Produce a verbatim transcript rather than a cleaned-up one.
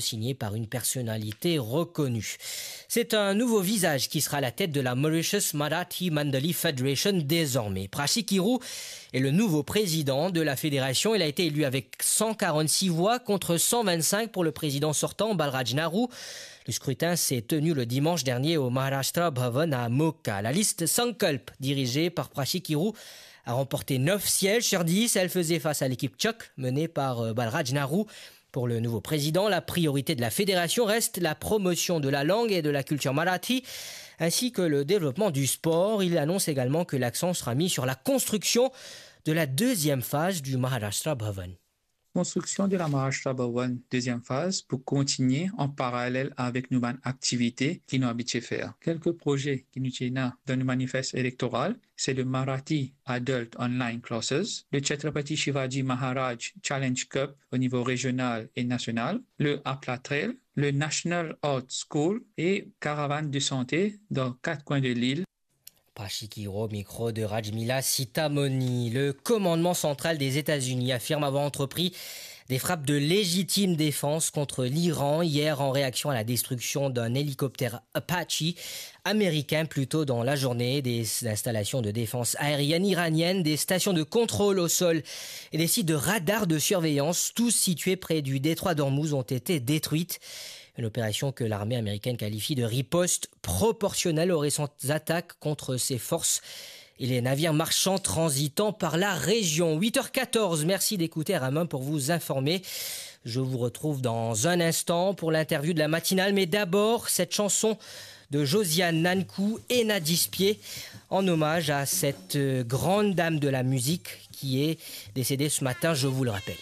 signé par une personnalité reconnue. C'est un nouveau visage qui sera à la tête de la Mauritius Marathi Mandali Federation désormais. Prashi Kiru est le nouveau président de la fédération. Il a été élu avec cent quarante-six voix contre cent vingt-cinq pour le président sortant, Balraj Nahru. Le scrutin s'est tenu le dimanche dernier au Maharashtra Bhavan à Moka. La liste Sankalp, dirigée par Prashi Kiru, a remporté neuf sièges sur dix. Elle faisait face à l'équipe Chakh, menée par, euh, Balraj Nahru. Pour le nouveau président, la priorité de la fédération reste la promotion de la langue et de la culture marathi, ainsi que le développement du sport. Il annonce également que l'accent sera mis sur la construction de la deuxième phase du Maharashtra Bhavan. Construction de la Maharashtra Bhavan, deuxième phase, pour continuer en parallèle avec nos bann activités qui nous habituent faire. Quelques projets qui nous tiennent dans le manifeste électoral, c'est le Marathi Adult Online Classes, le Chhatrapati Shivaji Maharaj Challenge Cup au niveau régional et national, le Apla Trail, le National Art School et caravane de santé dans quatre coins de l'île. Prashi Kiru au micro de Rajmila Sitamoni. Le commandement central des États-Unis affirme avoir entrepris des frappes de légitime défense contre l'Iran hier en réaction à la destruction d'un hélicoptère Apache américain plus tôt dans la journée. Des installations de défense aérienne iranienne, des stations de contrôle au sol et des sites de radar de surveillance, tous situés près du détroit d'Ormuz, ont été détruites. Une opération que l'armée américaine qualifie de riposte proportionnelle aux récentes attaques contre ses forces et les navires marchands transitant par la région. Huit heures quatorze, merci d'écouter R M un pour vous informer. Je vous retrouve dans un instant pour l'interview de la matinale, mais d'abord, cette chanson de Josiane Nankou et Nadispie en hommage à cette, euh, grande dame de la musique qui est décédée ce matin, je vous le rappelle.